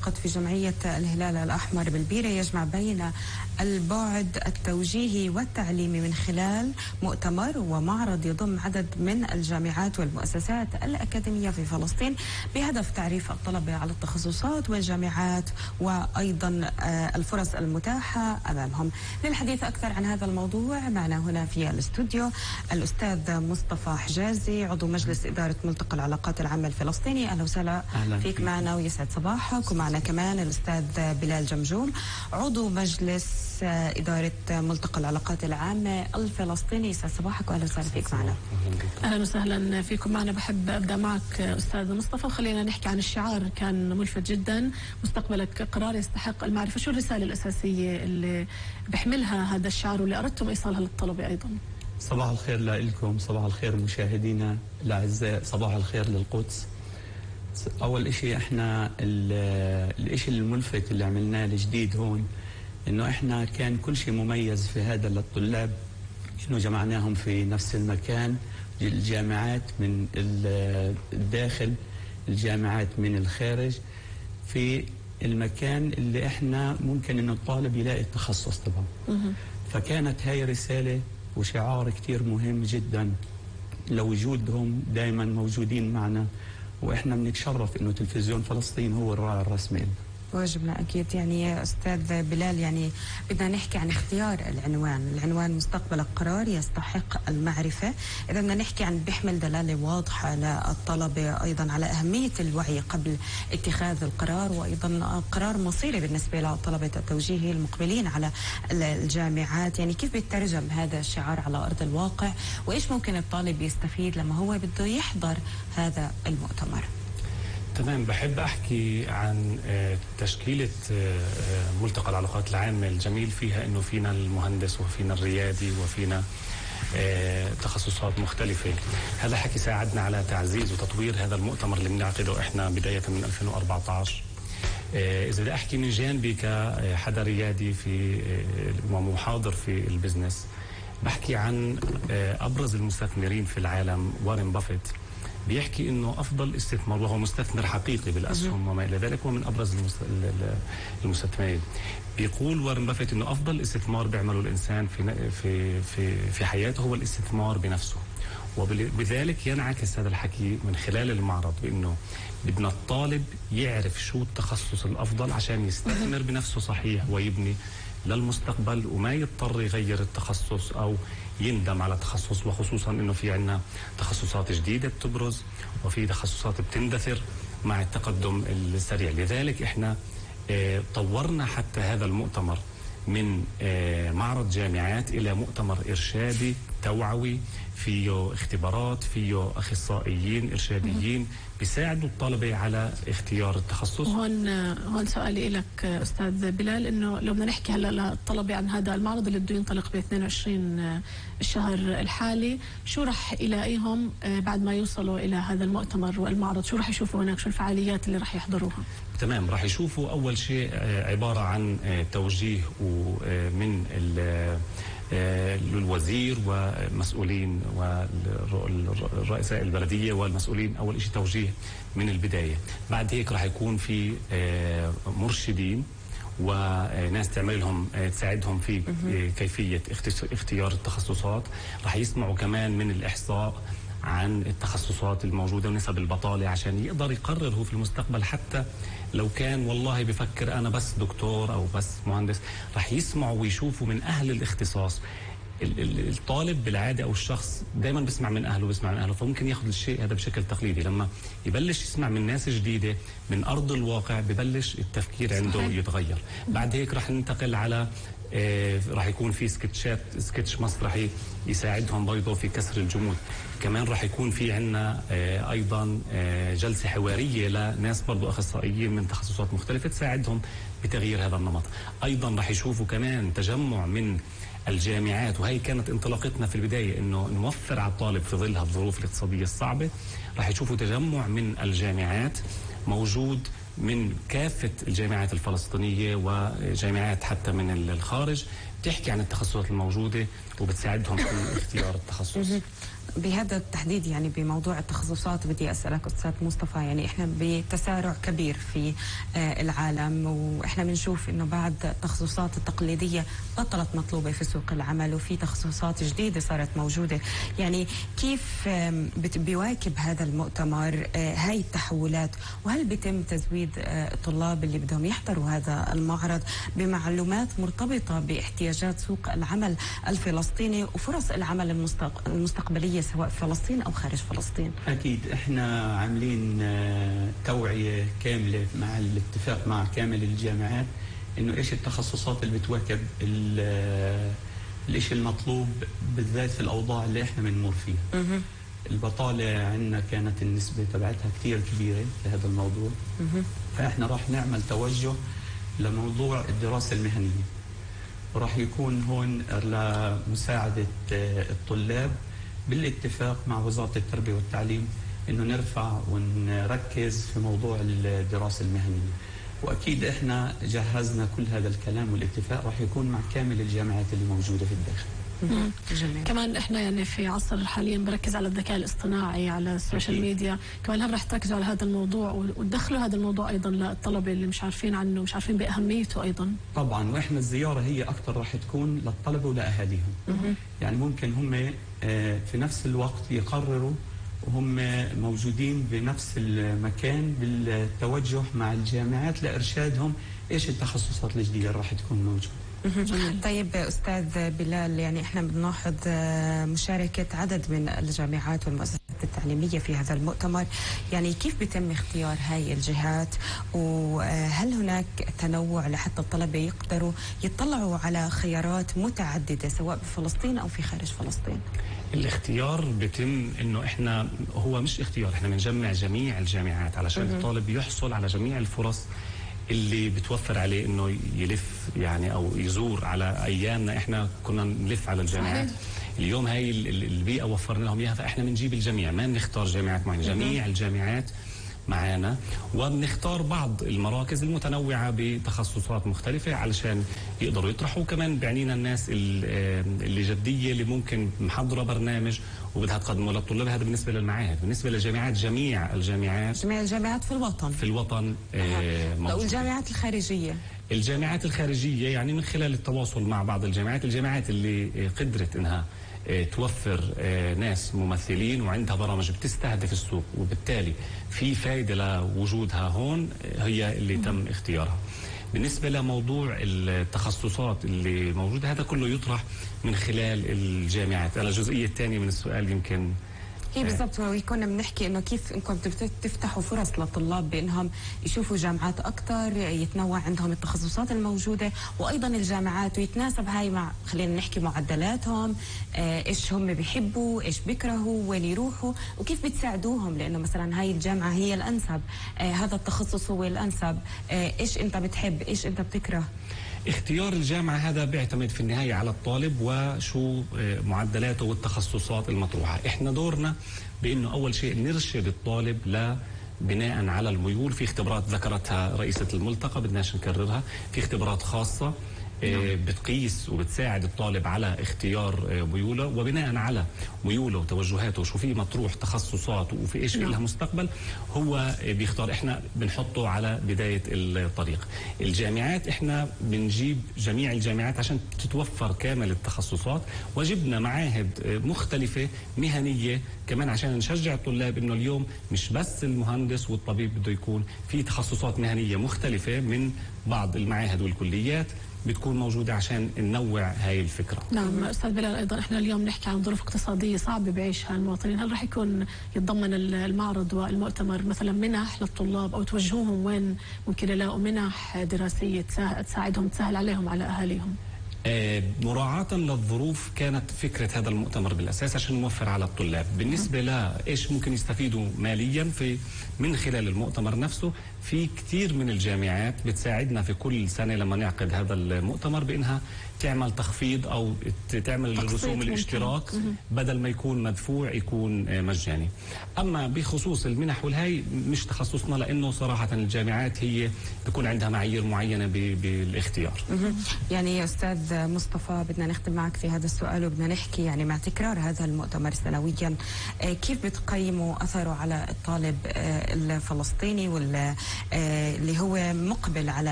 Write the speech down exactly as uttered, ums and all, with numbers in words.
المنعقد في جمعية الهلال الأحمر بالبيرة يجمع بين البعد التوجيهي والتعليمي من خلال مؤتمر ومعرض يضم عدد من الجامعات والمؤسسات الأكاديمية في فلسطين بهدف تعريف الطلبة على التخصصات والجامعات وأيضا الفرص المتاحة أمامهم. للحديث أكثر عن هذا الموضوع معنا هنا في الاستوديو الأستاذ مصطفى حجازي عضو مجلس إدارة ملتقى العلاقات العامة الفلسطيني. أهلا وسهلا فيك, فيك معنا ويسعد صباحك. ومعنا كمان الأستاذ بلال جمجوم عضو مجلس إدارة ملتقى العلاقات العامة الفلسطيني. يسعد صباحك وأهلا وسهلا فيك معنا. أهلا وسهلا فيكم معنا. بحب أبدأ معك أستاذ مصطفى، خلينا نحكي عن الشعار، كان ملفت جدا، مستقبلك قرار يستحق المعرفة. شو الرسالة الأساسية اللي بيحملها هذا الشعار واللي أردتم إيصالها للطلبة أيضا؟ صباح الخير لكم، صباح الخير مشاهدينا الأعزاء، صباح الخير للقدس. أول إشي إحنا الإشي الملفت اللي عملناه الجديد هون إنه إحنا كان كل شيء مميز في هذا للطلاب، إنه جمعناهم في نفس المكان، الجامعات من الداخل الجامعات من الخارج، في المكان اللي إحنا ممكن إنه الطالب يلاقي التخصص طبعا. فكانت هاي رسالة وشعار كتير مهم جدا لوجودهم دائما موجودين معنا، وإحنا بنتشرف إنه تلفزيون فلسطين هو الراعي الرسمي. واجبنا أكيد. يعني أستاذ بلال، يعني بدنا نحكي عن اختيار العنوان، العنوان مستقبلك قرار يستحق المعرفة. إذا بدنا نحكي عن بيحمل دلالة واضحة للطلبة أيضا على أهمية الوعي قبل اتخاذ القرار، وأيضا قرار مصيري بالنسبة لطلبة التوجيهي المقبلين على الجامعات. يعني كيف بيترجم هذا الشعار على أرض الواقع، وإيش ممكن الطالب يستفيد لما هو بده يحضر هذا المؤتمر؟ تمام. بحب أحكي عن تشكيلة ملتقى العلاقات العامة. الجميل فيها أنه فينا المهندس وفينا الريادي وفينا تخصصات مختلفة. هذا حكي ساعدنا على تعزيز وتطوير هذا المؤتمر اللي بنعقده إحنا بداية من ألفين وأربعة عشر. إذا بدي أحكي من جانبي كحدا ريادي في ومحاضر في البزنس، بحكي عن أبرز المستثمرين في العالم. وارن بافيت بيحكي انه افضل استثمار، وهو مستثمر حقيقي بالاسهم وما الى ذلك، ومن ابرز المستثمرين. بيقول وارن بافيت انه افضل استثمار بيعمله الانسان في في في في حياته هو الاستثمار بنفسه. وبذلك ينعكس هذا الحكي من خلال المعرض بانه بدنا الطالب يعرف شو التخصص الافضل عشان يستثمر بنفسه صحيح ويبني للمستقبل، وما يضطر يغير التخصص او يندم على تخصص. وخصوصا انه في عندنا تخصصات جديده بتبرز وفي تخصصات بتندثر مع التقدم السريع. لذلك احنا اه طورنا حتى هذا المؤتمر من اه معرض جامعات الى مؤتمر ارشادي توعوي، فيه اختبارات، فيه اخصائيين ارشاديين بيساعدوا الطلبه على اختيار التخصص. هون هون سؤالي لك استاذ بلال، انه لو بدنا نحكي هلا للطلبه عن هذا المعرض اللي بده ينطلق ب اثنين وعشرين الشهر الحالي، شو رح يلاقيهم بعد ما يوصلوا الى هذا المؤتمر والمعرض؟ شو رح يشوفوا هناك؟ شو الفعاليات اللي رح يحضروها؟ تمام. رح يشوفوا اول شيء عباره عن توجيه من للوزير ومسؤولين والرؤساء البلدية والمسؤولين. أول شيء توجيه من البداية. بعد هيك راح يكون في مرشدين وناس تعمل لهم تساعدهم في كيفية اختيار التخصصات. راح يسمعوا كمان من الإحصاء عن التخصصات الموجودة ونسب البطالة عشان يقدر يقرر هو في المستقبل. حتى لو كان والله بفكر أنا بس دكتور أو بس مهندس، رح يسمعوا ويشوفوا من أهل الاختصاص. الطالب بالعادة أو الشخص دائما بسمع من أهله بسمع من أهله، فممكن ياخذ الشيء هذا بشكل تقليدي. لما يبلش يسمع من ناس جديدة من أرض الواقع ببلش التفكير عنده يتغير. بعد هيك رح ننتقل على آه راح يكون في سكتشات، سكتش مسرحي يساعدهم برضه في كسر الجمود. كمان راح يكون في عندنا آه ايضا آه جلسه حواريه لناس برضه اخصائيين من تخصصات مختلفه تساعدهم بتغيير هذا النمط. ايضا راح يشوفوا كمان تجمع من الجامعات، وهي كانت انطلاقتنا في البدايه انه نوفر على الطالب في ظل الظروف الاقتصاديه الصعبه. راح يشوفوا تجمع من الجامعات موجود من كافة الجامعات الفلسطينية وجامعات حتى من الخارج، بتحكي عن التخصصات الموجودة وبتساعدهم في اختيار التخصص. بهذا التحديد يعني بموضوع التخصصات بدي أسألك أستاذ مصطفى، يعني إحنا بتسارع كبير في العالم، وإحنا بنشوف إنه بعد التخصصات التقليدية بطلت مطلوبة في سوق العمل وفي تخصصات جديدة صارت موجودة. يعني كيف بيواكب هذا المؤتمر هاي التحولات، وهل بيتم تزويد الطلاب اللي بدهم يحضروا هذا المعرض بمعلومات مرتبطة باحتياجات سوق العمل الفلسطيني وفرص العمل المستقبلية سواء في فلسطين أو خارج فلسطين؟ أكيد إحنا عاملين توعية كاملة مع الاتفاق مع كامل الجامعات إنه إيش التخصصات اللي بتواكب الإشي المطلوب بالذات في الأوضاع اللي إحنا بنمر فيها. البطالة عندنا كانت النسبة تبعتها كثير كبيرة في هذا الموضوع، فإحنا راح نعمل توجه لموضوع الدراسة المهنية، وراح يكون هون لمساعدة الطلاب بالاتفاق مع وزارة التربية والتعليم إنه نرفع ونركز في موضوع الدراسة المهنية. وأكيد إحنا جهزنا كل هذا الكلام، والاتفاق راح يكون مع كامل الجامعات اللي موجودة في الداخل. جميل. كمان احنا يعني في عصر حاليا بركز على الذكاء الاصطناعي على السوشيال أكيد. ميديا، كمان هل رح تركزوا على هذا الموضوع وتدخلوا هذا الموضوع ايضا للطلبه اللي مش عارفين عنه، مش عارفين باهميته ايضا؟ طبعا، واحنا الزياره هي اكثر راح تكون للطلبه ولاهاليهم. يعني ممكن هم في نفس الوقت يقرروا وهم موجودين بنفس المكان بالتوجه مع الجامعات لارشادهم ايش التخصصات الجديده اللي راح تكون موجوده. طيب أستاذ بلال، يعني إحنا بنلاحظ مشاركة عدد من الجامعات والمؤسسات التعليمية في هذا المؤتمر، يعني كيف بيتم اختيار هاي الجهات، وهل هناك تنوع لحتى الطلبة يقدروا يطلعوا على خيارات متعددة سواء بفلسطين أو في خارج فلسطين؟ الاختيار بيتم انه احنا هو مش اختيار، احنا بنجمع جميع الجامعات علشان الطالب يحصل على جميع الفرص اللي بتوفر عليه انه يلف يعني او يزور. على ايامنا احنا كنا نلف على الجامعات، اليوم هاي البيئه وفرنا لهم اياها، فاحنا بنجيب الجميع، ما بنختار جامعات معينه، جميع الجامعات معانا، وبنختار بعض المراكز المتنوعه بتخصصات مختلفه علشان يقدروا يطرحوا. كمان بعنينا الناس اللي جديه اللي ممكن محضره برنامج وبدها تقدمه للطلاب. هذا بالنسبه للمعاهد. بالنسبه للجامعات، جميع الجامعات جميع الجامعات في الوطن في الوطن موجودة. والجامعات الخارجيه الجامعات الخارجيه يعني من خلال التواصل مع بعض الجامعات الجامعات اللي قدرت انها توفر ناس ممثلين وعندها برامج بتستهدف السوق وبالتالي في فائدة لوجودها هون، هي اللي تم اختيارها. بالنسبة لموضوع التخصصات اللي موجودة، هذا كله يطرح من خلال الجامعات. على الجزئية الثانية من السؤال يمكن هي بالضبط، وكنا بنحكي انه كيف انكم تفتحوا فرص للطلاب بانهم يشوفوا جامعات اكثر، يتنوع عندهم التخصصات الموجوده، وايضا الجامعات ويتناسب هاي مع خلينا نحكي معدلاتهم، آه ايش هم بيحبوا، ايش بيكرهوا، وين يروحوا، وكيف بتساعدوهم، لانه مثلا هاي الجامعه هي الانسب، آه هذا التخصص هو الانسب، آه ايش انت بتحب، ايش انت بتكره. اختيار الجامعة هذا بيعتمد في النهاية على الطالب وشو معدلاته والتخصصات المطروحة. احنا دورنا بانه اول شيء نرشد الطالب ل بناء على الميول. في اختبارات ذكرتها رئيسة الملتقى بدناش نكررها، في اختبارات خاصة بتقيس وبتساعد الطالب على اختيار ميوله، وبناء على ميوله وتوجهاته وشو في مطروح تخصصات وفي ايش لها مستقبل هو بيختار. احنا بنحطه على بداية الطريق. الجامعات احنا بنجيب جميع الجامعات عشان تتوفر كامل التخصصات، وجبنا معاهد مختلفة مهنية كمان عشان نشجع الطلاب انه اليوم مش بس المهندس والطبيب بده يكون في تخصصات مهنية مختلفة من بعض المعاهد والكليات بتكون موجودة عشان ننوع هاي الفكرة. نعم أستاذ بلال، أيضا إحنا اليوم نحكي عن ظروف اقتصادية صعبة بعيشها المواطنين، هل رح يكون يتضمن المعرض والمؤتمر مثلا منح للطلاب أو توجهوهم وين ممكن يلاقوا منح دراسية تساعدهم تسهل عليهم على أهاليهم؟ آه مراعاة للظروف كانت فكرة هذا المؤتمر بالأساس عشان نوفر على الطلاب. بالنسبة لإيش ممكن يستفيدوا ماليا في من خلال المؤتمر نفسه، في كثير من الجامعات بتساعدنا في كل سنة لما نعقد هذا المؤتمر بأنها تعمل تخفيض أو تعمل رسوم الاشتراك بدل ما يكون مدفوع يكون مجاني. أما بخصوص المنح والهي مش تخصصنا، لأنه صراحة الجامعات هي بيكون عندها معايير معينة بالاختيار. يعني يا أستاذ مصطفى بدنا نختم معك في هذا السؤال وبدنا نحكي يعني مع تكرار هذا المؤتمر سنويا كيف بتقيموا أثره على الطالب الفلسطيني واللي هو مقبل على